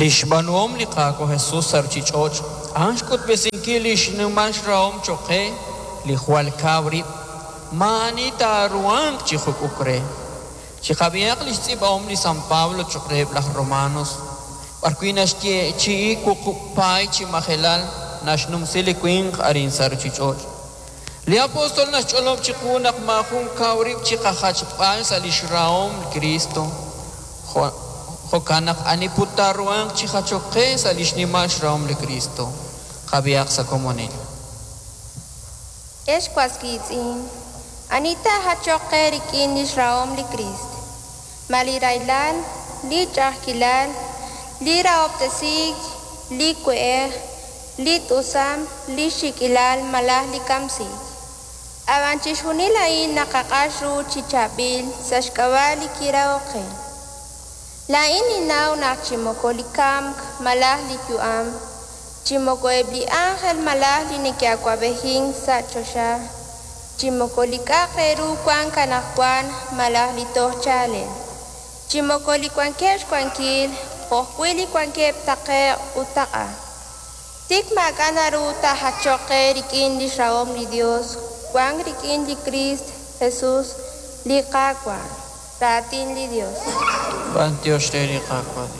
Li xb'aanuhom li Qaawa' Jesus sa' ruuchich'och' a'an xk'utb'esinkil li xnimal xrahom cho'q qe li jwal kaw rib', maa'ani taaruhanq chi juk'uk re. Chiqab'ihaq li xtz'iib'ahom li San Pablo cho'q reheb' laj Romanos, b'arwi' naxyeechi'i wuqub' paay chi majelal naxnumsi li winq arin sa' ruuchich'och'. Li apóstol naxch'olob' chiqu naq maajun kaw rib' chiqajachb'al sa' li xrahom li Kristo. Jo'kan naq ani put taaruhanq chi jachok qe sa' li xnimal xrahom li Kristo. Qab'ihaq sa' komonil. Ex was wiitz'in, ani taajachoq qe rik'in li xrahom li Kriist? Ma li rahilal, li ch'a'ajkilal, li rahob'tesiik, li we'ej, li t'usam, li xik'ilal malaj li kamsiik? Ab'an chixjunil a'in naqaq'ax ru chi chaab'il sa' xk'ab'a' li kirahok qe. Laa'in ninnaw naq chi moko li kamk malaj li yu'am, chi moko eb' li ánjel malaj li neke'awab'ejink sa' choxa, chi moko li k'a'aq re ru wank anaqwan malaj li toj chaalel, chi moko li wankeb' xwankil jo'ajwi' li wankeb' taqe'q ut taq'a. Tik maak'a' naru taajachoq qe rik'in li xrahom li Yos wank rik'in li Kriist Jesus, li Qaawa'. Raatin li Yos. B'anyox re li Qaawa' Yos.